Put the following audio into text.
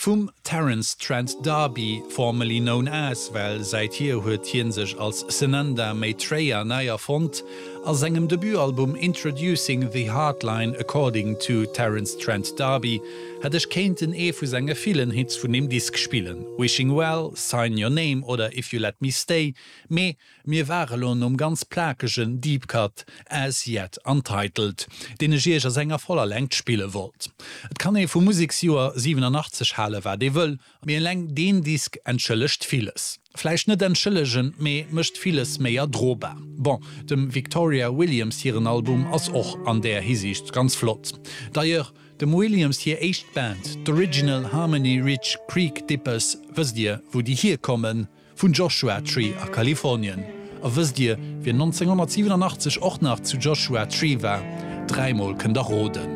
Vum Terence Trent D'Arby, formerly known as, well säithier huet hien sech als Sananda Maitreya nei erfonnt, a sengem Debutalbum Introducing the Hardline According to Terence Trent D'Arby hätt ech kéinten ee vu senge villen Hits vun deem Disk spillen, Wishing Well, Sign Your Name oder If You Let Me Stay, mee Mir ware lo nom ganz plakegen Deep Cut As Yet Untitled, deen ech iech a senger voller Längt spille wollt. Et kann ee vum Museksjoer 87 hale wat ee wëll, mee eleng deen Disk entschëllegt villes. Vläicht net entschëllegen, mee mécht villes méi erdrobar. Bon, dem Victoria Williams hiren Album ass och an där Hisiicht ganz flott. D'ailleurs, dem Williams hir éischt Band, d'Original Harmony Ridge Creek Dippers, wësst dir wou déi hierkommen? Vun Joshua Tree a Kalifornien. A wësst Dir, wien 1987 och nach zu Joshua Tree war? Dräimol kënnt der roden.